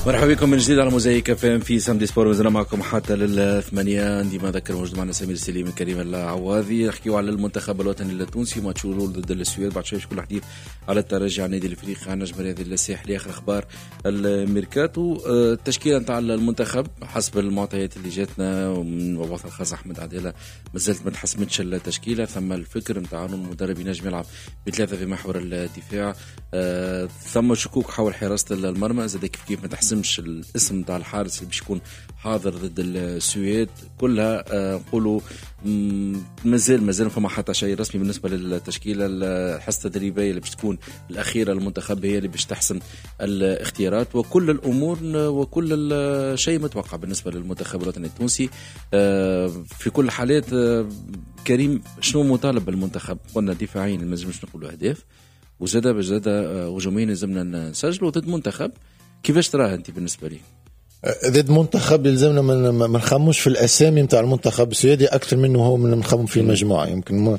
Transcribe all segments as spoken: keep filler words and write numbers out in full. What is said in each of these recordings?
مرحبا بكم من جديد على موزايك اف ام في Samedi Sport، مازلنا معكم حتى للثمانية. ديما ذكر موجود معنا سمير سليم كريم العواضي، نحكيو على المنتخب الوطني التونسي ماتش ضد السويد، بعد شوي شكون الحديث على الترجي، على النادي الافريقي، على النجم الرياضي الساحلي، اخر اخبار الميركاتو. التشكيلة نتاع المنتخب حسب المعطيات اللي جاتنا ومن مبعوث الخاص احمد عدالة مازالت ما تحسمتش التشكيلة. ثم الفكر نتاع المدرب ينجم يلعب بثلاثة في محور الدفاع، ثم شكوك حول حراسة المرمى، زاد كيف كيف ما تحسمش الاسم تاع الحارس اللي باش يكون حاضر ضد السويد. كلها نقولوا مازال مازال فما حتى شيء رسمي بالنسبة للتشكيله. الحصة التدريبية اللي باش تكون الاخيرة للمنتخب هي اللي باش تحسم الاختيارات وكل الامور وكل شيء متوقع بالنسبة للمنتخب الوطني التونسي. في كل الحالات كريم، شنو مطالب بالمنتخب؟ قلنا دفاعيا ما لازمش نقولوا اهداف، وزاد زاد هجوميا لازمنا نسجلوا ضد منتخب. كيفاش تراه انت بالنسبة لي؟ ضد منتخب يلزمنا ما نخموش في الاسامي نتاع المنتخب السويدي اكثر منه هو من نخمم في المجموعة. يمكن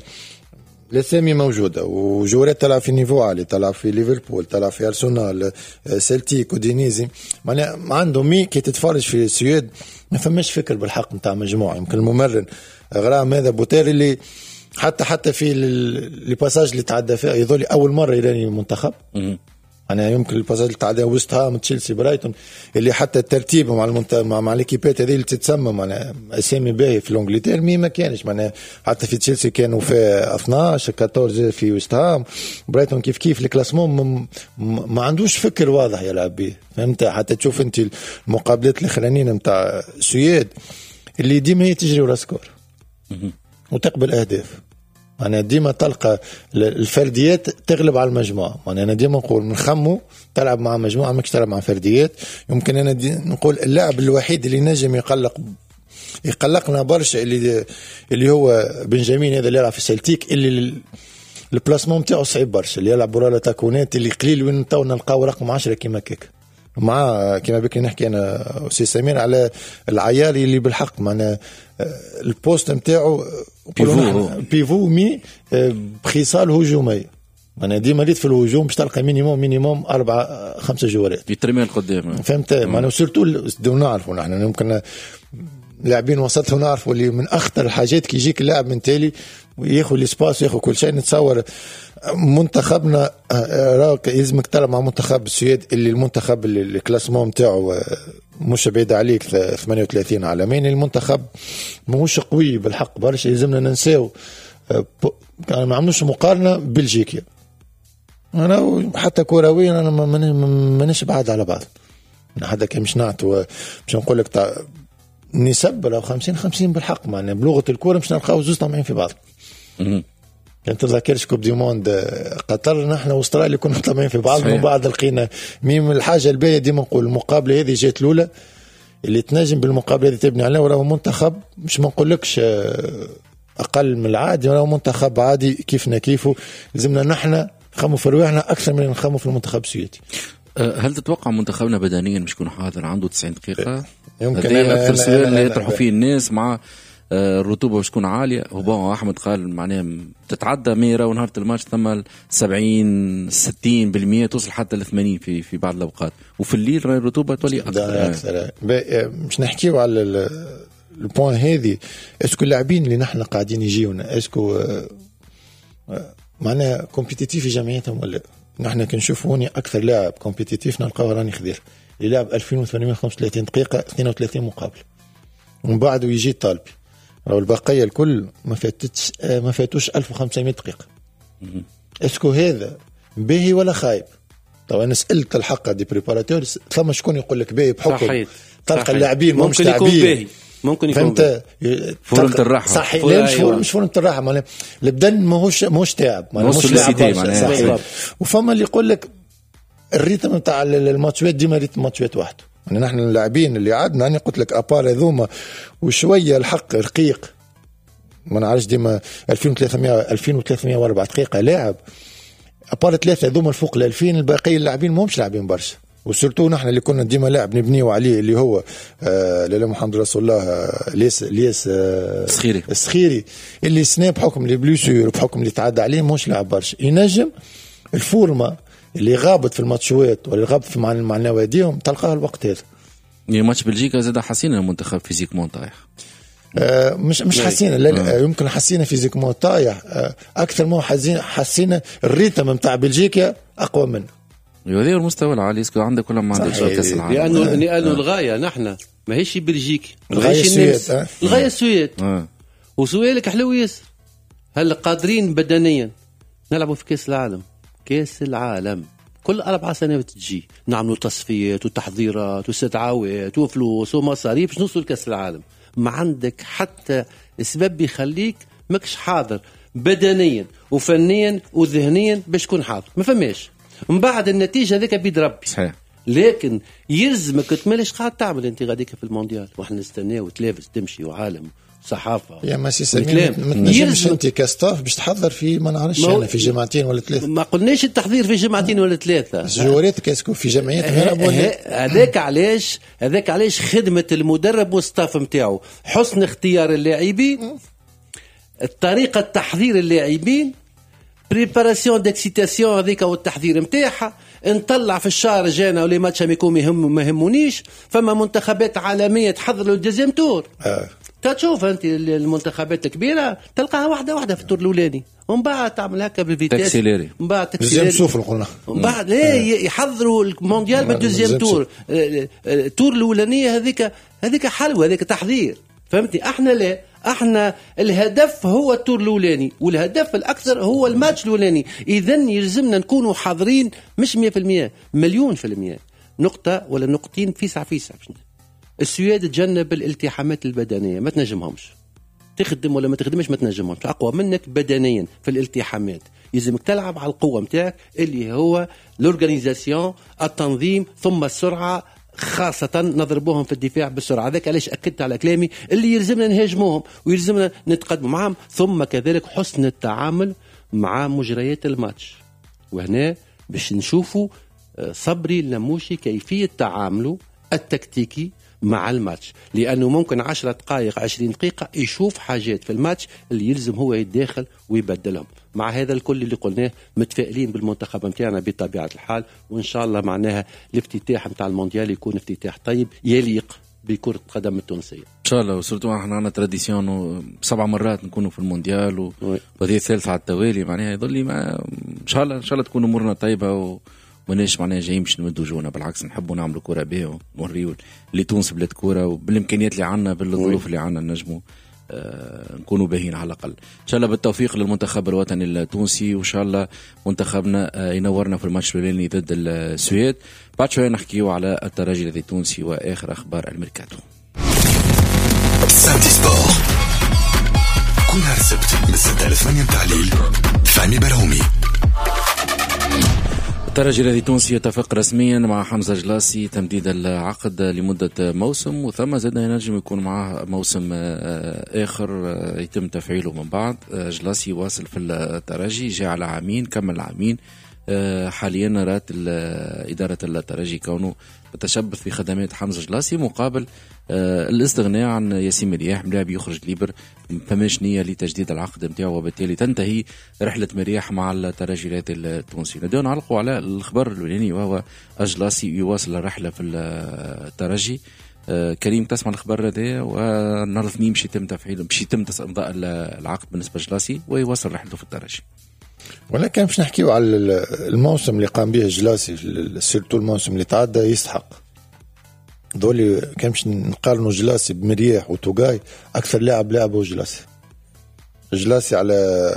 الاسامي موجودة وجورات تلعب في niveau عالي، تلعب في ليفربول، تلعب في ارسنال، سلتيك، اودينيزي، معناها عندهم mais كي تتفرج في السويد ما فماش فكر بالحق نتاع مجموعة. يمكن الممرن غرام هذا بوتير اللي حتى حتى في les passages اللي تعدى فيها يظل اول مرة يراني المنتخب. انا يمكن ال passage اللي تعدى ويست هام، تشيلسي، برايتون، اللي حتى الترتيب مع المنت... مع, مع les équipes هذه اللي تتسمى معناها اسامي باهي في l'Angleterre، mais ما كانش معناها حتى في تشيلسي كانوا في اثناش أربعطاش في ويست هام، برايتون كيف كيف. ال classement م... ما عندوش فكر واضح يلعب به، فهمت؟ حتى تشوف انت المقابلات الاخرانيين نتاع السويد اللي ديما هي تجري ورا score وتقبل اهداف. أنا ديما تلقى الفرديات تغلب على المجموعة. أنا ديما نقول نخمو تلعب مع مجموعة ماكش تلعب مع فرديات. يمكن أنا نقول اللاعب الوحيد اللي نجم يقلق يقلقنا برشا اللي اللي هو بنجامين هذا اللي يلعب في سلتيك، اللي ال placement نتاعو صعيب برشا، اللي يلعب برا تاكونات اللي قليل وين تو نلقاو رقم عشرة كيما كيك مع كيما بكري نحكي انا وسي سمير على العياري اللي بالحق معنا ال poste نتاعو pivot pivot mais بخصال هجومية. انا ديما ريت في الهجوم باش تلقى minimum minimum اربعة خمسة جوارات يترمي القدام، فهمت؟ معناها surtout نعرفوا نحن ممكن لاعبين وسط ونعرفوا اللي من اخطر الحاجات كي يجيك اللاعب من تالي وياخذ l'espace وياخذ كل شيء. نتصور منتخبنا راك يلزمك تلعب مع منتخب السويد اللي المنتخب اللي ال classement نتاعو مش بعيد عليك ثمانية وثلاثين عالميا، المنتخب ماهوش قوي بالحق برشا. يلزمنا ننساو ما عملوش مقارنة بلجيكا. انا حتى كرويا انا مانيش بعاد على بعض، حتى كي مش نعطوا باش نقول لك نسب لو خمسين خمسين بالحق، معنا بلغه الكورة مش نلقاو زوز طامعين في بعض. كان تذكرش Coupe du monde قطر، نحن واستراليا كنا طامعين في بعض ومن بعد لقينا même. الحاجة الباهيه ديما نقول المقابلة هذه جات الاولى اللي تنجم بالمقابلة هذه تبني عليها، وراهو منتخب مش ما نقولكش اقل من العادي، وراهو منتخب عادي كيفنا كيفه. لازمنا نحن نخموا في رواحنا اكثر من نخموا في المنتخب السويدي. هل تتوقع منتخبنا بدنيا مش يكون حاضر عنده تسعين دقيقة؟ يمكن اكثر سؤال اللي يطرحوا فيه الناس مع الرطوبة باش تكون عالية. هو احمد قال معناها تتعدى ميرا ونهار الماتش ثم سبعين ستين بالمية توصل حتى ل ثمانين في في بعض الاوقات، وفي الليل راهي الرطوبة تولي اكثر. اكثر مش نحكيو على ال point هذه. est-ce que اللاعبين اللي نحن قاعدين يجيونا est-ce que معناها compétitifs في جمعيتهم ولا؟ نحن كنشوفوا هوني اكثر لاعب compétitif نلقاو راني خضير اللي لعب ألفين وثمانمية وخمسة وثلاثين دقيقة اثنين وثلاثين مقابله، ومن بعده يجي الطالبي. راهو البقية الكل ما فاتتش ما فاتوش ألف وخمسمية دقيقة. est-ce que هذا باهي ولا خايب؟ طبعا انا سالت الحق des préparateurs، ثم شكون يقول لك باهي بحكم تلقى اللاعبين مش لاعبين ممكن يكون باهي، فورمة الراحة صحيح. لا مش فورمة مش فورمة الراحة، معناها البدن ماهوش ماهوش تعب، معناها مش لاعب. وفما اللي يقول لك ال rythme نتاع الماتشات ديما rythme ماتشات وحده. يعني نحن اللاعبين اللي عندنا انا قلت لك à part هذوما وشوية الحق رقيق، ما نعرفش ديما ألفين وثلاثمية ألفين وثلاثمية وأربعة دقيقة لاعب à part ثلاثة هذوما الفوق ال ألفين، الباقي اللاعبين ماهمش لاعبين برشا. و surtout نحن اللي كنا ديما لاعب نبنيو عليه اللي هو آه لا محمد رسول الله آه ليس ليس آه السخيري السخيري اللي سنة بحكم les blessures بحكم اللي تعدى عليه ماهوش لاعب برشا. ينجم الفورمة اللي غابت في الماتشوات واللي غابت في مع مع نواديهم تلقاها الوقت هذا. يعني ماتش بلجيكا زاد حسينا المنتخب physiquement طايح. آه مش مش حسينا، لا, لا يمكن حسينا physiquement طايح آه اكثر ما حسينا حسينا ال rythme نتاع بلجيكا اقوى منه. هذا المستوى العالي est-ce que عندك ولا ما عندكش كاس العالم؟ لانه آه. لانه الغاية نحن ماهيش بلجيكا، الغاية السويد، آه. الغاية السويد. آه. وسؤالك حلو ياسر، هل قادرين بدنيا نلعبوا في كاس العالم؟ كاس العالم كل أربع سنوات تجي، نعملوا تصفيات وتحضيرات واستدعاوات وفلوس ومصاريف باش نوصلوا لكاس العالم. ما عندك حتى سبب يخليك ماكش حاضر بدنيا وفنيا وذهنيا باش تكون حاضر، ما فماش. من بعد النتيجة هذيك بيد ربي. صحيح. لكن يلزمك تملش قاعد تعمل انت غاديك في المونديال، واحنا نستناو تلافز تمشي وعالم صحافة. يا ما سي سمير ما تنجمش انت ك staff باش تحضر في ما نعرفش انا في جمعتين ولا ثلاثة. ما قلناش التحضير في جمعتين ولا ثلاثة. جواراتك est-ce que في جمعيات هذاك علاش، هذاك علاش خدمة المدرب وال staff نتاعو، حسن اختيار اللاعبين، الطريقة تحضير اللاعبين، préparation d'excitation هذيك والتحضير نتاعها، نطلع في الشهر جانا و les matchs amicaux يهم ما يهمونيش. فما منتخبات عالمية تحضر لل deuxième tour. آه. تشوف انت المنتخبات الكبيرة تلقاها واحدة واحدة في ال tour الاولاني، ومن بعد تعمل هكا بال vitesse، من بعد deuxième souffle قلنا، من بعد لا يحضروا المونديال بال deuxième tour. ال tour الاولانية هذيك هذيك حلوة، هذيك تحضير، فهمتني؟ احنا لا، احنا الهدف هو ال tour الاولاني، والهدف الاكثر هو الماتش الاولاني. اذا يلزمنا نكونوا حاضرين مش مية بالمية، مليون في المية، نقطة ولا نقطتين فيسع فيسع. السويد تجنب الالتحامات البدنية، ما تنجمهمش، تخدم ولا ما تخدمش ما تنجمهمش، اقوى منك بدنيا في الالتحامات. يلزمك تلعب على القوة نتاعك اللي هو l'organisation، التنظيم، ثم السرعة، خاصة نضربوهم في الدفاع بالسرعة. هذاك علاش أكدت على كلامي اللي يلزمنا نهاجموهم ويلزمنا نتقدموا معهم، ثم كذلك حسن التعامل مع مجريات الماتش. وهنا باش نشوفوا صبري اللموشي كيفية تعامله التكتيكي مع الماتش، لأنه ممكن عشرة دقائق عشرين دقيقة يشوف حاجات في الماتش اللي يلزم هو يتداخل ويبدلهم. مع هذا الكل اللي قلناه متفائلين بالمنتخب متاعنا بطبيعة الحال، وإن شاء الله معناها الافتتاح متاع المونديال يكون افتتاح طيب يليق بكرة القدم التونسية إن شاء الله. و surtout احنا عندنا tradition سبع مرات نكونوا في المونديال وهذه الثالثة على التوالي، معناها يظل لي ما إن شاء الله إن شاء الله تكون أمورنا طيبة و ماناش معناها جايين باش نمدوا جونا، بالعكس نحبوا نعملوا كرة بها ونوريو اللي تونس بلاد كرة، وبالامكانيات اللي عندنا بالظروف اللي عندنا نجموا آه نكونوا باهين على الاقل. ان شاء الله بالتوفيق للمنتخب الوطني التونسي، وان شاء الله منتخبنا آه ينورنا في الماتش الاولاني ضد السويد. بعد شوية نحكيو على الترجي التونسي واخر اخبار الميركاتو. Samedi Sport كل نهار السبت من ستة ل ثمانية متاع الليل، فهمي برهومي. الترجي الرياضي التونسي يتفق رسميا مع حمزة جلاسي تمديد العقد لمدة موسم، وثم زاد ينجم يكون معه موسم آخر يتم تفعيله من بعد. جلاسي واصل في الترجي، جاء على عامين، كمل عامين. حاليا رات إدارة الترجي كونه تتشبث في خدمات حمزة جلاسي مقابل الاستغناء عن ياسين مرياح، ملاعب يخرج libre، فماش نية لتجديد العقد نتاعو، وبالتالي تنتهي رحلة مرياح مع الترجي الرياضي التونسي. نديو نعلقوا على الخبر الأولاني وهو جلاسي يواصل الرحلة في الترجي. كريم تسمع الخبر هذا، ونهار الاثنين باش يتم تفعيل باش يتم امضاء العقد بالنسبة لجلاسي ويواصل رحلته في الترجي. ولكن باش نحكيو على الموسم اللي قام به جلاسي، surtout الموسم اللي تعدى، يستحق دولي. كان باش نقارنوا جلاسي بمرياح وتوغاي، اكثر لاعب لعبه جلاسي. جلاسي على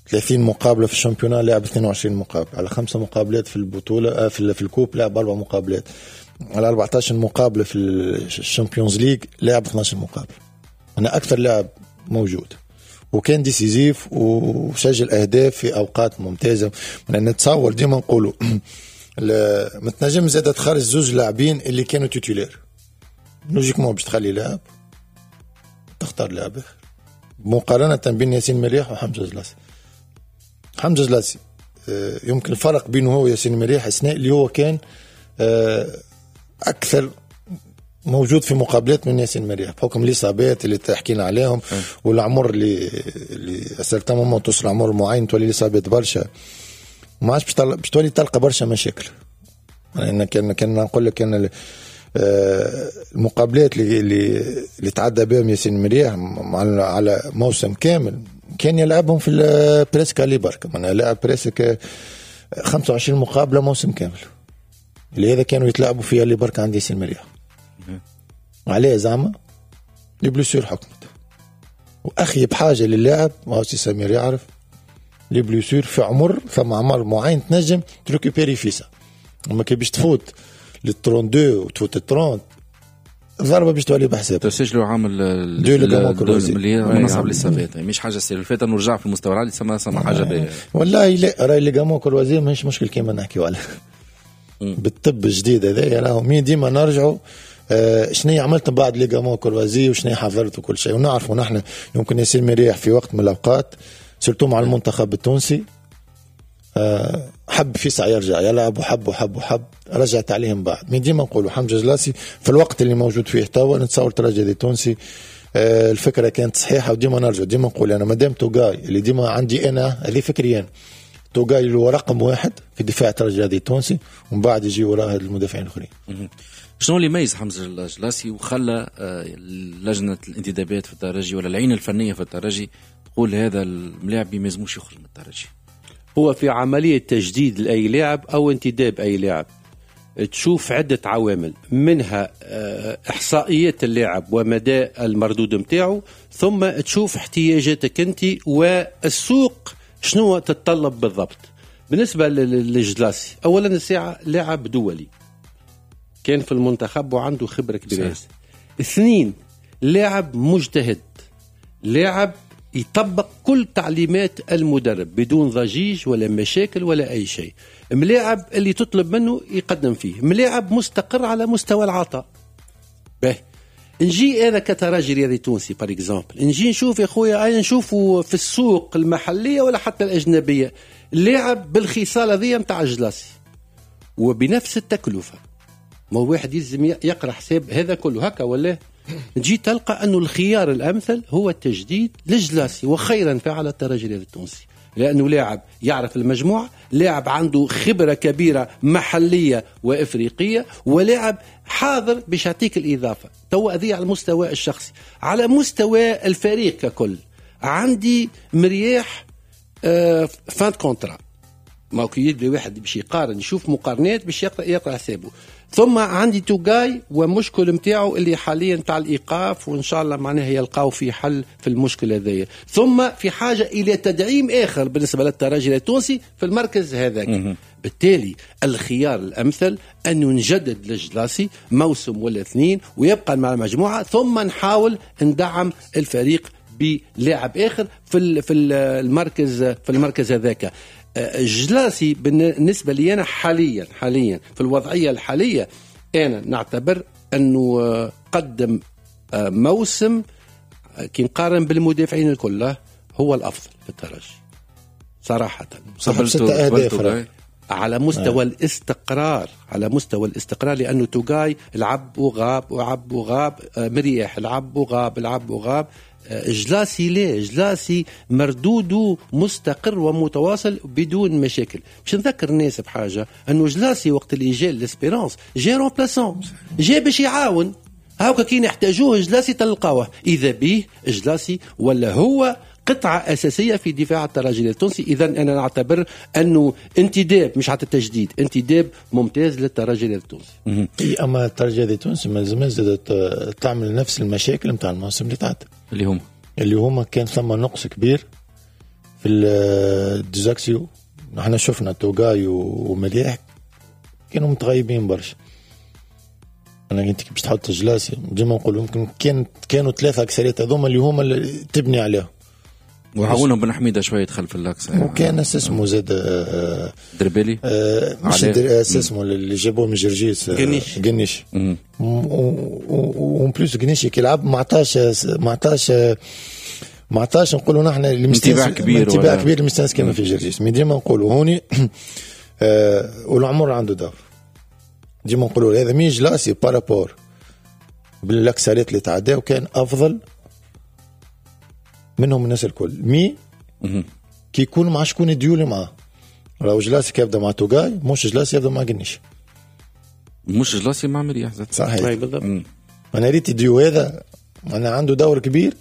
ثلاثين مقابله في ال championnat لعب اثنين وعشرين مقابله، على خمسة مقابلات في البطولة في, في ال coupe لعب اربع مقابلات، على أربعة عشر مقابله في ال Champions League لعب اثنا عشر مقابله. انا اكثر لاعب موجود، وكان décisif وسجل اهداف في اوقات ممتازة. نتصور ديما نقولوا ما تنجم زاد تخرج زوج لاعبين اللي كانوا titulaires، logiquement باش تخلي لاعب تختار لاعب اخر، مقارنة بين ياسين مرياح وحمزة جلاسي. حمزة جلاسي يمكن الفرق بينه هو وياسين مرياح اثناء اللي هو كان اكثر موجود في مقابلات من ياسين مرياح بحكم الاصابات اللي تحكينا عليهم والعمر اللي اللي certain moment توصل عمر معين تولي الاصابات برشا. ما عادش باش تولي تلقى برشا مشاكل. يعني كان كان نقول لك كان المقابلات اللي اللي تعدى بهم ياسين مرياح على موسم كامل كان يلعبهم في presque aller برك، معناها لعب presque خمسة وعشرين مقابله موسم كامل، اللي هذا كانوا يتلعبوا فيها aller برك عند ياسين مرياح. عليه زعما les blessures حكمت، واخيب حاجة للاعب ما هو سي سمير يعرف les blessures في عمر، ثم عمر معين تنجم ت récupérer فيسع، اما كي باش تفوت لل اثنين وثلاثين وتفوت ال ثلاثين الضربة باش تولي بحساب. تسجلوا عامل اللي من اصعب الاصابات، مش حاجة سير الفات انه رجع في المستوى العالي سما سما حاجة باهيه. والله لا راهي ligaments croisés ماهيش مشكل كيما نحكيو عليه بالطب الجديد هذايا، راهو مين ديما نرجعوا آه شنو عملت بعد ligaments croisés وشنو حضرت وكل شيء، ونعرفوا نحن يمكن ياسين مرياح في وقت من الاوقات surtout مع المنتخب التونسي أه حب فيسع يرجع يلعب وحب وحب وحب رجعت عليهم بعد. من ديما نقولوا حمزة جلاسي في الوقت اللي موجود فيه توا نتصور ترجي التونسي أه الفكرة كانت صحيحه، وديما نرجع ديما نقول انا مادام توغاي اللي ديما عندي انا هذه فكريا، توغاي اللي هو رقم واحد في دفاع ترجي التونسي ومن بعد يجي وراه المدافعين الاخرين. شنو اللي يميز حمزة الجلاسي وخلى لجنة الانتدابات في الترجي ولا العين الفنية في الترجي تقول هذا الملاعب ما يلزموش يخرج من الترجي؟ هو في عملية تجديد لأي لاعب أو انتداب أي لاعب تشوف عدة عوامل، منها إحصائيات اللاعب ومدى المردود متاعه، ثم تشوف احتياجاتك أنت والسوق شنو تتطلب بالضبط. بالنسبة للجلاسي أولا الساعة لاعب دولي كان في المنتخب وعنده خبرة كبيرة. اثنين لاعب مجتهد، لاعب يطبق كل تعليمات المدرب بدون ضجيج ولا مشاكل ولا أي شيء، ملاعب اللي تطلب منه يقدم فيه، ملاعب مستقر على مستوى العطاء. به نجي أنا كترجي رياضي تونسي par exemple نجي نشوف يا خويا، أنا نشوفه في السوق المحلية ولا حتى الأجنبية لاعب بالخصال هذه متاع الجلاسي وبنفس التكلفة، ما هو واحد يلزم يقرأ حساب هذا كله هكا ولا؟ تجي تلقى أنه الخيار الأمثل هو التجديد للجلاسي، وخيرا فعل الترجي التونسي، لأنه لاعب يعرف المجموعة، لاعب عنده خبرة كبيرة محلية وإفريقية، ولاعب حاضر باش يعطيك الإضافة. تو هذه على المستوى الشخصي. على مستوى الفريق ككل عندي مرياح آه fin de contrat، ما كي يدري واحد باش يقارن يشوف مقارنات باش يقرأ يقرأ حسابه. ثم عندي توغاي ومشكل متاعه اللي حاليا تاع الايقاف، وان شاء الله معناها يلقاو في حل في المشكلة هذيا. ثم في حاجة الى تدعيم اخر بالنسبة للترجي التونسي في المركز هذاك. بالتالي الخيار الامثل انه نجدد للجلاسي موسم ولا اثنين ويبقى مع المجموعة، ثم نحاول ندعم الفريق بلاعب اخر في في المركز في المركز هذاك. جلاسي بالنسبة لي أنا حاليا حاليا في الوضعية الحالية أنا نعتبر أنه قدم موسم كي نقارن بالمدافعين الكل هو الأفضل في الترجي صراحة. على مستوى آه. الاستقرار، على مستوى الاستقرار، لأنه توغاي لعب وغاب وعب وغاب، مريح لعب وغاب لعب وغاب. جلاسي ليه؟ جلاسي مردودة مستقر ومتواصل بدون مشاكل. باش نذكر الناس بحاجة، أنه جلاسي وقت اللي جا l'Espérance جا remplaçant، جا باش يعاون، هاكا كي نحتاجوه جلاسي تلقاوه. إذا به جلاسي ولا هو قطعة أساسية في دفاع الترجي التونسي. إذا أنا نعتبر أنه انتداب مش حتى تجديد، انتداب ممتاز للترجي التونسي. أما الترجي التونسي ما زال زادت تعمل نفس المشاكل نتاع الموسم اللي تعدى، اللي هما اللي هما كان ثم نقص كبير في ال deux axiaux. نحن شفنا توغاي ومليح كانوا متغيبين برشا. انا انت باش تحط جلاسي ديما نقول يمكن كان كانوا ثلاثة اكسريات هذوما اللي هما اللي تبني عليهم، وعاونهم بن حميده شوية دخل في ال axe، وكان اسمه زاد دربالي آه مش اسمه اللي جابوه من جرجيس، قنيش قنيش و en plus قنيش كي لعب ما عطاش ما عطاش ما عطاش نقولوا نحن انتباه كبير، انتباه كبير المستانس كما في جرجيس. mais ديما نقولوا هوني آه والعمر عنده دور، ديما نقولوا هذا mais جلاسي par rapport بالاكسريات اللي تعداو كان افضل منهم الناس الكل. mais كي يكون مع شكون يديولي معاه، راهو جلاسي يبدا مع توغاي مش جلاسي يبدا مع قنيش، مش جلاسي مع مرياح. صحيح بالضبط. انا ريت ديو هذا انا عنده دور كبير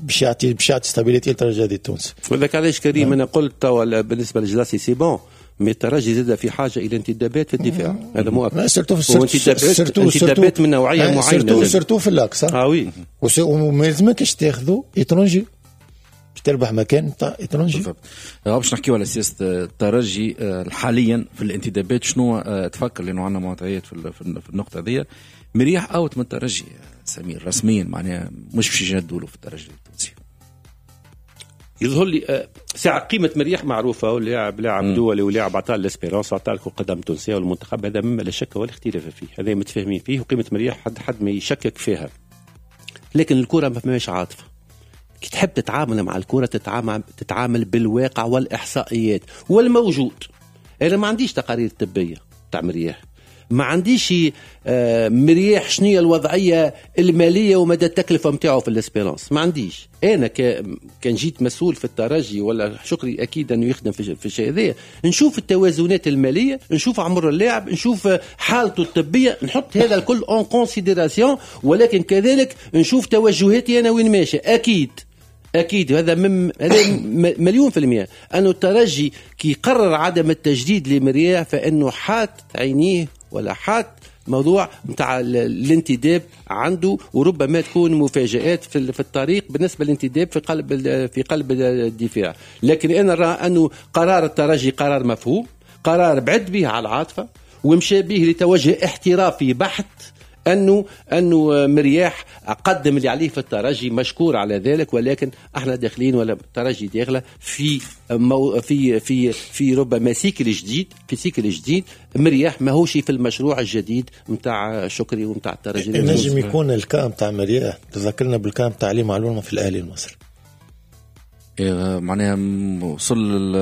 باش يعطي باش يعطي stabilité للترجي التونسي. وذاك علاش كريم انا قلت توا بالنسبة لجلاسي c'est bon، mais الترجي زاد في حاجة الى انتدابات في الدفاع، هذا مو اكثر. وانتدابات انتدابات من نوعية معينة، surtout surtout في l'axe. اه oui، وما يلزمكش تاخذوا étranger باش تربح مكان تاع étranger. بالضبط. باش نحكيو على سياسة الترجي حاليا في الانتدابات، شنو تفكر؟ لانه عندنا معطيات في النقطة هذه. مرياح out من الترجي سمير رسميا، معناها مش باش يجددوا له في الترجي التونسي. يظهر لي ساعة قيمة مرياح معروفة، ولاعب لاعب دولي ولاعب عطاه l'Espérance وعطاه كرة قدم تونسية والمنتخب، هذا مما لا شك ولا اختلاف فيه، هذا متفاهمين فيه، وقيمة مرياح حد حد ما يشكك فيها. لكن الكرة ما فماش عاطفة، كي تحب تتعامل مع الكرة تتعامل تتعامل بالواقع والإحصائيات والموجود. أنا ما عنديش تقارير طبية تاع مرياح، ما عنديش مرياح شنية الوضعية المالية ومدى التكلفة متاعه في ال Espérance، ما عنديش. أنا كان جيت مسؤول في الترجي ولا شكري أكيد أنه يخدم في الشيء هذا، نشوف التوازنات المالية، نشوف عمر اللاعب، نشوف حالته الطبية، نحط هذا الكل en considération، ولكن كذلك نشوف توجهاتي أنا وين ماشي. أكيد أكيد هذا مم هذا مليون في المئة أنه الترجي كي قرر عدم التجديد لمرياح فإنه حاط عينيه ولا حاط موضوع متاع الانتداب عنده، وربما تكون مفاجآت في في الطريق بالنسبة للانتداب في قلب في قلب الدفاع. لكن أنا أرى أنه قرار الترجي قرار مفهوم، قرار بعد به على العاطفة ومشى به لتوجه احترافي بحت، أنه أنه مرياح قدم اللي عليه في الترجي مشكور على ذلك، ولكن احنا داخلين ولا الترجي داخله في مو في في في ربما cycle جديد، في cycle جديد. مرياح ماهوش في المشروع الجديد نتاع شكري ونتاع الترجي. نجم يكون ال cas متاع مرياح تذكرنا بال cas متاع علي معلول في الاهلي المصري، إيه معناها وصل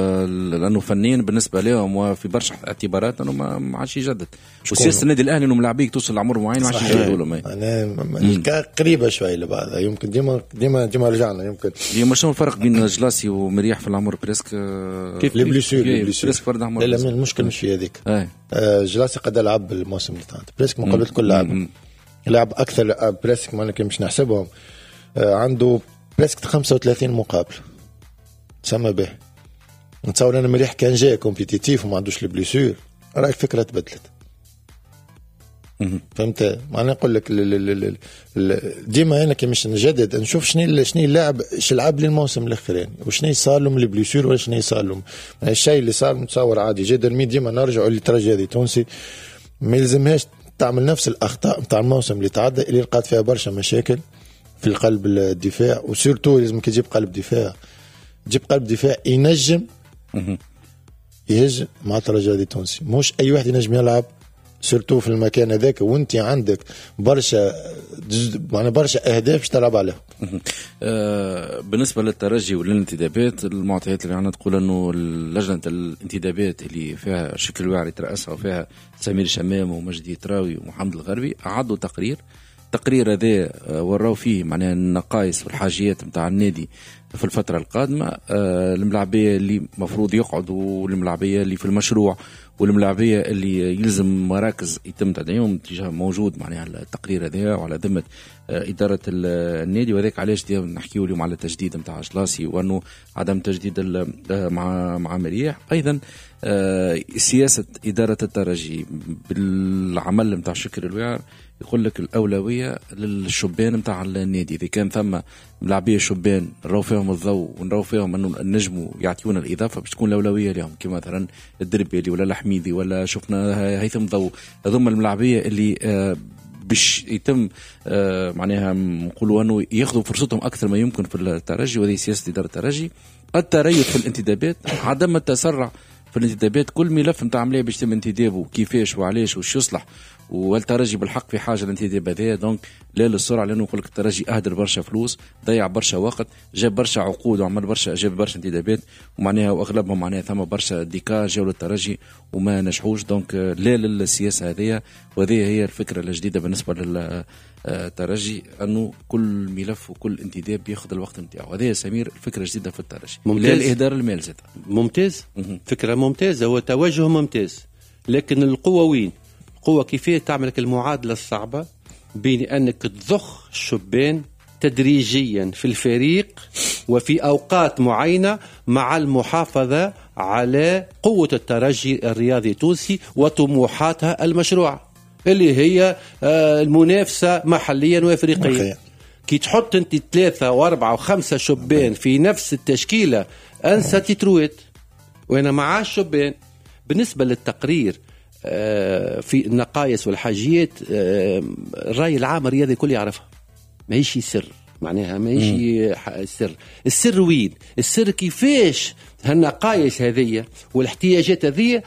لانه فنيا بالنسبة لهم وفي برشا اعتبارات انه ما عادش يجدد، وسياسة النادي الاهلي انه ملاعبيك توصل لعمر معين ما عادش يجددوا لهم. معناها قريبه شوية لبعضها، يمكن ديما ديما ديما رجعنا يمكن ديما. شنو الفرق بين جلاسي ومرياح في العمر؟ presque كيف les blessures presque فرد عمر. لا لا المشكل مش في هذيك. آه جلاسي قد لعب الموسم اللي فات presque مقابلات كل لعب لعب اكثر presque، ما مش نحسبهم، آه عنده presque خمسة وثلاثين مقابله تسمى به. نتصور انا مريح كان جاي compétitif وما عندوش les blessures، راهي الفكرة تبدلت. فهمت؟ معناها نقول لك ديما انا كي مش نجدد نشوف شنو شنو اللاعب اش لعب لي الموسم الاخراني وشنو صار لهم les blessures ولا شنو صار لهم. الشيء اللي صار نتصور عادي جدا. mais ديما نرجعوا للترجي التونسي، ما يلزمهاش تعمل نفس الاخطاء نتاع الموسم اللي تعدى اللي لقات فيها برشا مشاكل في القلب الدفاع، و surtout لازم كي تجيب قلب دفاع تجيب قلب دفاع ينجم يهج مع الترجي التونسي، مش اي واحد ينجم يلعب surtout في المكان هذاك، وانت عندك برشا معناها برشا اهداف باش تلعب عليها. أه بالنسبة للترجي وللانتدابات، المعطيات اللي عندنا تقول انه لجنة الانتدابات اللي فيها شكل واعر يترأسها وفيها سمير شمام ومجدي تراوي ومحمد الغربي عدوا تقرير، التقرير هذا وراو فيه معناها النقائص والحاجيات نتاع النادي في الفترة القادمة، الملاعبية اللي مفروض يقعدوا والملاعبية اللي في المشروع والملاعبية اللي يلزم مراكز يتم تدعيمهم تجاه موجود معناها التقرير هذا وعلى ذمة إدارة النادي. وذاك علاش نحكيو اليوم على التجديد نتاع جلاسي وأنه عدم تجديد مع مع مرياح. أيضا سياسة إدارة الترجي بالعمل نتاع شكر الوعر يقول لك الأولوية للشبان نتاع النادي، إذا كان ثم ملاعبية شبان نراو فيهم الضوء ونراو فيهم أنه النجموا يعطيونا الإضافة باش تكون الأولوية لهم، كما مثلا الدربيلي ولا الحميدي ولا شفنا هيثم ضوء، هذوما الملاعبية اللي باش يتم معناها نقولوا أنه ياخذوا فرصتهم أكثر ما يمكن في الترجي. وهذه سياسة إدارة الترجي، التريث في الانتدابات، عدم التسرع في الانتدابات، كل ملف نتاع عملية باش يتم انتدابه كيفاش وعلاش وش يصلح، والترجي بالحق في حاجة الانتداب هذا. donc لا للسرعه، لانه نقول لك الترجي اهدر برشا فلوس، ضيع برشا وقت، جاب برشا عقود وعمل برشا، جاب برشا انتدابات ومعناها واغلبهم معناها ثم برشا des cas جاوا للترجي وما نجحوش. donc لا للسياسة هذه، وهذه هي الفكرة الجديدة بالنسبة لل الترجي انه كل ملف وكل انتداب بياخذ الوقت نتاعو. هذا يا سمير الفكرة الجديدة في الترجي، لا الاهدار المال زاد. ممتاز، فكرة ممتازة وتوجه ممتاز، لكن القوة وين؟ القوة كيفية تعمل المعادلة الصعبة بين انك تضخ الشبان تدريجيا في الفريق وفي اوقات معينة مع المحافظة على قوة الترجي الرياضي التونسي وطموحاتها المشروعة اللي هي المنافسة محليا وافريقيا. كي تحط انت ثلاثة واربعة وخمسة شبان في نفس التشكيلة انسى تترويت. وانا مع الشبان بالنسبة للتقرير في النقائص والحاجيات، الراي العام الرياضي الكل يعرفها، ماهيش سر، معناها ماهيش سر. السر وين؟ السر كيفاش هالنقائص هذه والاحتياجات هذه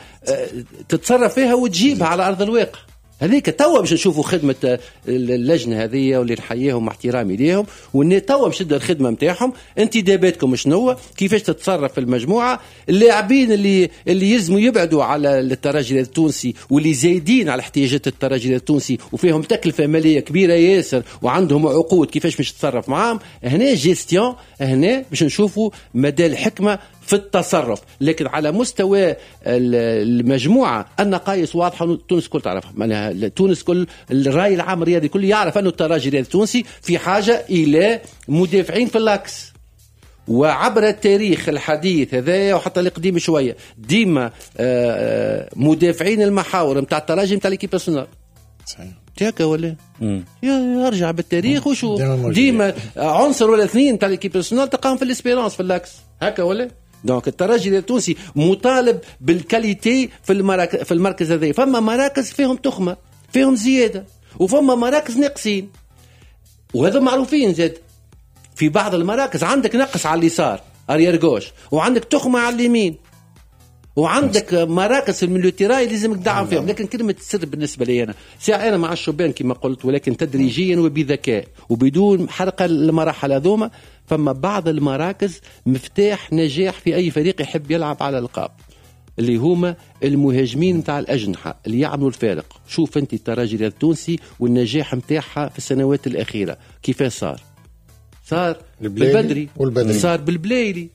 تتصرف فيها وتجيبها على ارض الواقع. هذيك توا باش نشوفوا خدمة اللجنة هذه واللي نحييهم مع احترامي ليهم، وان توا باش تبدا الخدمة نتاعهم. انتداباتكم شنو؟ كيفاش تتصرف في المجموعة؟ اللاعبين اللي اللي يلزموا يبعدوا على الترجي التونسي واللي زايدين على احتياجات الترجي التونسي وفيهم تكلفة ماليه كبيرة ياسر وعندهم عقود، كيفاش باش تتصرف معاهم؟ هنا جيستيون، هنا باش نشوفوا مدى الحكمة في التصرف. لكن على مستوى المجموعة النقائص واضحة، تونس كل تعرفها، معناها تونس كل الراي العام الرياضي كل يعرف أنه الترجي الرياضي التونسي في حاجة إلى مدافعين في l'axe. وعبر التاريخ الحديث هذا وحتى القديم شوية ديما مدافعين المحاور نتاع الترجي نتاع l'équipe nationale. صحيح هكا ولا يرجع بالتاريخ وشو ديما عنصر ولا اثنين تاع l'équipe nationale تلقاهم في l'Espérance في l'axe هكا ولا. donc الترجي التونسي مطالب بال qualité في المراكز، في المركز هذا. فما مراكز فيهم تخمة فيهم زيادة وفما مراكز ناقصين، وهذا معروفين زاد. في بعض المراكز عندك نقص على اليسار arrière gauche، وعندك تخمة على اليمين، وعندك مراكز ال milieu terrain لازم تدعم فيهم. لكن كلمة السر بالنسبة لي انا ساعة انا مع الشبان كما قلت، ولكن تدريجيا وبذكاء وبدون حرقه المراحل هذوما. فما بعض المراكز مفتاح نجاح في اي فريق يحب يلعب على القاب، اللي هما المهاجمين نتاع الاجنحة اللي يعملوا الفارق. شوف انت الترجي التونسي والنجاح نتاعها في السنوات الاخيرة كيف صار؟ صار بالبدري، صار بالبلايلي،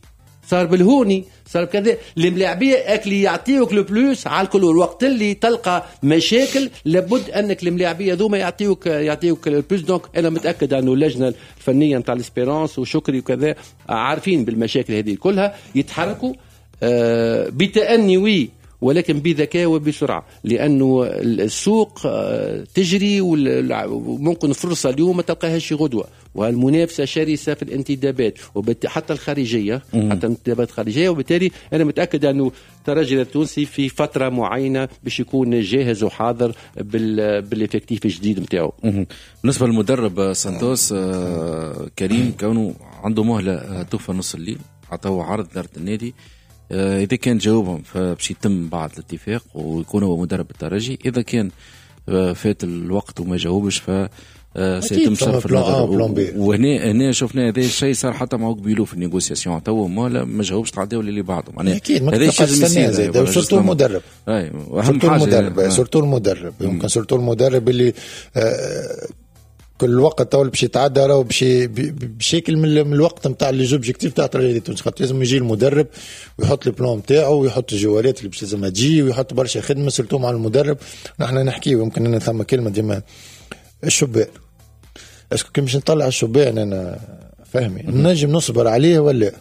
صار بالهوني، صار بكذا. الملاعبيه اكلي يعطيوك le plus على الكل. الوقت اللي تلقى مشاكل لابد انك الملاعبيه ذوما يعطيوك يعطيوك le plus. donc انا متاكد انه اللجنة الفنية نتاع l'Espérance وشكري وكذا عارفين بالمشاكل هذه كلها، يتحركوا آه بتأني oui، ولكن بذكاء وبسرعة، لانه السوق تجري وممكن فرصة اليوم ما تلقاهاش غدوه، والمنافسه شرسة في الانتدابات حتى الخارجية، حتى الانتدابات الخارجية. وبالتالي انا متاكد انه الترجي التونسي في فترة معينة باش يكون جاهز وحاضر بال effectif الجديد نتاعو. بالنسبة للمدرب سانتوس كريم، كونه عنده مهله توفى نص الليل، عطوه عرض ادارة النادي، إذا كان جاوبهم فباش يتم بعد الاتفاق ويكون هو مدرب الترجي. إذا كان فات الوقت وما جاوبش ف سيتم صرف النظر. وهنا هنا شفنا هذا الشيء صار حتى مع بيلو في ال négociation، تو ما ما جاوبش تعداو اللي بعده. معناها اكيد ما تبقاش تستنى زاد، surtout المدرب. اي اهم حاجة المدرب، surtout المدرب. يمكن surtout المدرب اللي آه كل وقت تو باش يتعدى راهو باش بشكل من الوقت نتاع les objectifs تاع الترجي التونسي، خاطر لازم يجي المدرب ويحط ال plan نتاعو ويحط الجوالات اللي باش لازم تجي ويحط برشا خدمة surtout مع المدرب. نحن نحكيو يمكن ان ثم كلمة ديما الشبان، est-ce que كي باش نطلع الشبان انا فهمي نجم نصبر عليه ولا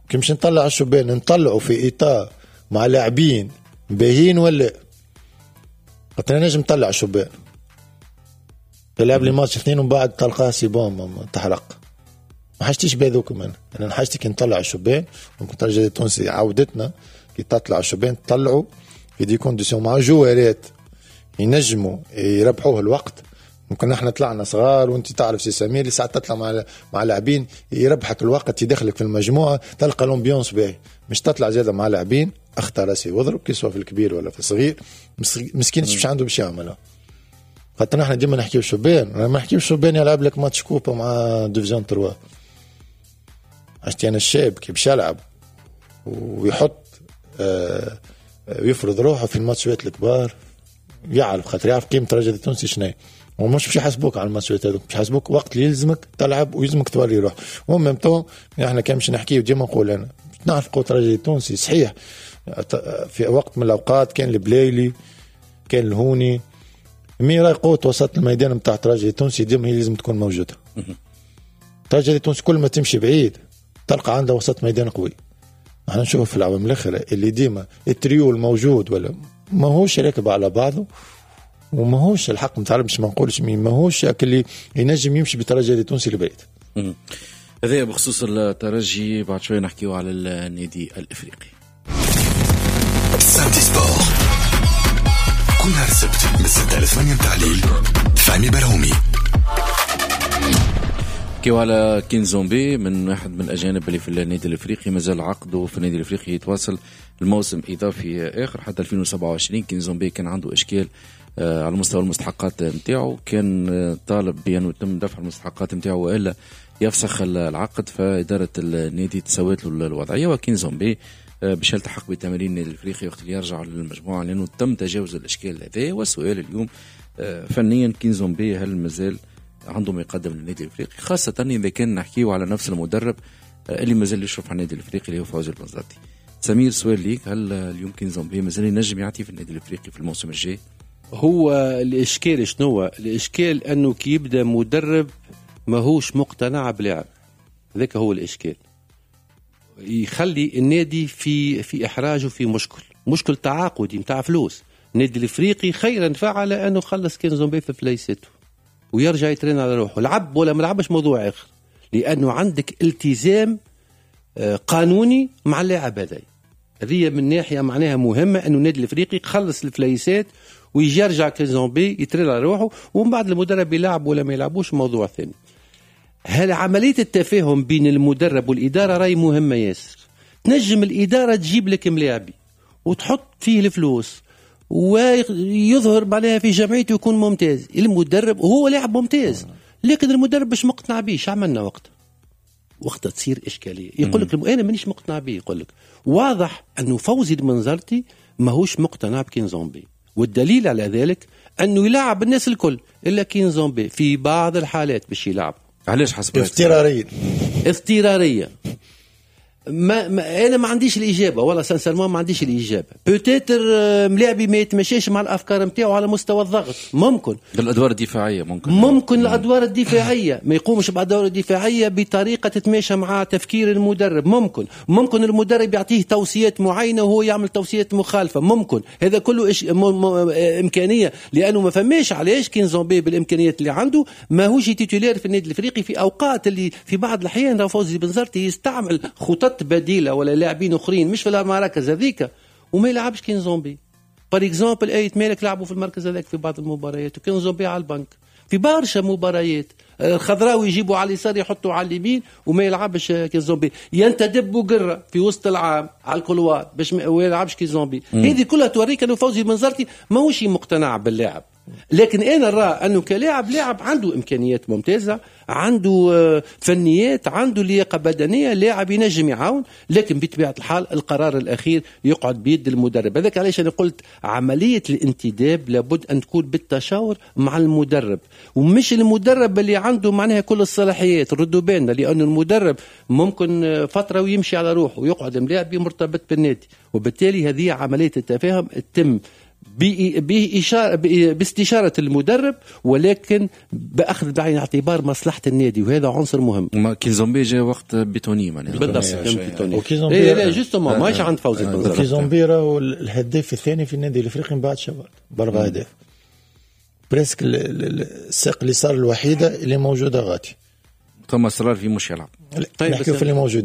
كي باش نطلع الشبان نطلعوا في اطار مع لاعبين باهين ولا؟ خاطر نجم نطلع الشبان تلعب لي ماتش اثنين ومن بعد تلقاه c'est bon تحرق. ما حاجتيش بهذوكم انا، انا حاجتي كي نطلع الشبان. ممكن الترجي التونسي عودتنا كي تطلع الشبان تطلعوا في des conditions مع جوارات ينجموا يربحوه الوقت. ممكن احنا طلعنا صغار وانت تعرف سي سمير اللي ساعات تطلع مع مع لاعبين يربحك الوقت يدخلك في المجموعة تلقى l'ambiance باهي، مش تطلع زاده مع لاعبين اختار راسي واضرب كي سواء في الكبير ولا في الصغير مسكين مش عنده باش يعملها. خاطر احنا ديما نحكيو شبان، انا ما نحكيو شبان يلعب لك match coupe مع division ثلاثة. عشتي انا الشاب كي باش يلعب ويحط آه ويفرض روحه في الماتشات الكبار يعرف خاطر يعرف قيمة الترجي التونسي شنو، ومش باش يحاسبوك على الماتشات هذوك، باش يحاسبوك وقت اللي يلزمك تلعب ويلزمك توري روح. و même temps احنا كان باش نحكيو ديما نقول انا نعرف قوة الترجي التونسي صحيح، في وقت من الاوقات كان البلايلي كان الهوني، mais راهي قوة وسط الميدان نتاع الترجي التونسي ديما هي لازم تكون موجودة. الترجي التونسي كل ما تمشي بعيد تلقى عنده وسط ميدان قوي. احنا نشوف في العوام الاخرى اللي ديما التريو الموجود ولا ماهوش راكب على بعضه، وماهوش الحق نتاع باش ما نقولش مين ماهوش اللي ينجم يمشي بالترجي التونسي لبعيد. هذا بخصوص الترجي، بعد شوي نحكيو على النادي الافريقي. Samedi Sport كل نهار السبت من ستة ل ثمانية متاع الليل، فهمي برهومي. نحكيو على كينزومبي، من واحد من الاجانب اللي في النادي الافريقي مازال عقده في النادي الافريقي يتواصل الموسم اضافي اخر حتى ألفين وسبعة وعشرين. كينزومبي كان عنده اشكال على مستوى المستحقات نتاعو، كان طالب بانه يتم دفع المستحقات نتاعو والا يفسخ العقد، فاداره النادي تسوت له الوضعية. وكينزومبي باش يلتحق بتمارين النادي الافريقي وقت اللي يرجع للمجموعة، لانه تم تجاوز الاشكال هذا. والسؤال اليوم فنيا كينزومبي هل مازال عنده ما يقدم للنادي الافريقي، خاصة اذا كان نحكيو على نفس المدرب اللي مازال يشرف على النادي الافريقي اللي هو فوزي البنزرتي. سمير، سؤال ليك، هل اليوم كينزومبي مازال ينجم يعطي في النادي الافريقي في الموسم الجاي؟ هو الاشكال شنو؟ الاشكال انه كي يبدا مدرب ماهوش مقتنع بلاعب، هذاك هو الاشكال، يخلي النادي في في احراج وفي مشكل، مشكل تعاقدي نتاع فلوس. النادي الافريقي خيرا فعل انه خلص كينزومبي في فليسته ويرجع يترين على روحه، لعب ولا ما لعبش موضوع اخر، لانه عندك التزام قانوني مع اللاعب هذا. هذه من ناحية معناها مهمة، انه النادي الافريقي خلص الفليسات ويجي يرجع كينزومبي يترين على روحه، ومن بعد المدرب يلعب ولا ما يلعبوش موضوع ثاني. هل عملية التفاهم بين المدرب والادارة راي مهمة ياسر؟ تنجم الادارة تجيب لك ملاعبي وتحط فيه الفلوس ويظهر معناها في جمعيته يكون ممتاز، المدرب هو لاعب ممتاز، لكن المدرب مش مقتنع به. شو عملنا وقت وقتها تصير اشكالية، يقول لك انا مانيش مقتنع به. يقول لك واضح انه فوزي المنزرتي ماهوش مقتنع بكينزومبي، والدليل على ذلك انه يلعب الناس الكل الا كينزومبي في بعض الحالات باش يلعب. علاش حسب اضطراريه؟ اضطراريه ما, ما انا ما عنديش الاجابة، والله sincèrement ما عنديش الاجابة. peut-être ملاعبي ما يتمشاش مع الافكار نتاعو على مستوى الضغط، ممكن الادوار الدفاعية، ممكن ممكن الادوار الدفاعية ما يقومش بادوار الدفاعية بطريقة تتماشى مع تفكير المدرب، ممكن ممكن المدرب يعطيه توصيات معينة وهو يعمل توصيات مخالفة، ممكن هذا كله إش... م... م... امكانية، لانه ما فماش علاش كينزومبي بالامكانيات اللي عنده ماهوش titulaire في النادي الافريقي في اوقات اللي في بعض الاحيان فوزي بنزرتي يستعمل خطط بديله ولا لاعبين اخرين مش في المراكز هذيك وما يلعبش كينزومبي. par exemple ايت مالك لعبوا في المركز هذاك في بعض المباريات وكينزومبي على البنك في برشا مباريات. الخضراوي يجيبوا على اليسار يحطوا على اليمين وما يلعبش كينزومبي. ينتدب بوقره في وسط العام على ال couloir باش ما يلعبش كينزومبي. هذه كلها توريك انه فوزي بنزرتي ماهوش مقتنع باللاعب. لكن انا نرى انه كلاعب لاعب عنده امكانيات ممتازة، عنده فنيات، عنده لياقه بدنية، لاعب ينجم يعاون، لكن بطبيعة الحال القرار الاخير يقعد بيد المدرب. هذاك علاش انا قلت عملية الانتداب لابد ان تكون بالتشاور مع المدرب، ومش المدرب اللي عنده معناها كل الصلاحيات. ردوا بالنا، لأن المدرب ممكن فترة ويمشي على روحه ويقعد ملاعب مرتبط بالنادي، وبالتالي هذه عملية التفاهم تتم بإشارة باستشارة المدرب، ولكن بأخذ بعين الاعتبار مصلحة النادي، وهذا عنصر مهم. ما كيزومبي جاء وقت بيتوني معناها بالضبط. بيتوني إيه لا justement ماهيش عند فوزي البنزرتي. كيزومبي راهو الهداف الثاني في النادي الافريقي من بعد شوال بأربع أهداف، presque الساق اليسار الوحيدة اللي موجودة غادي. ثم اصرار في مش يلعب. طيب نحكيو في اللي موجود.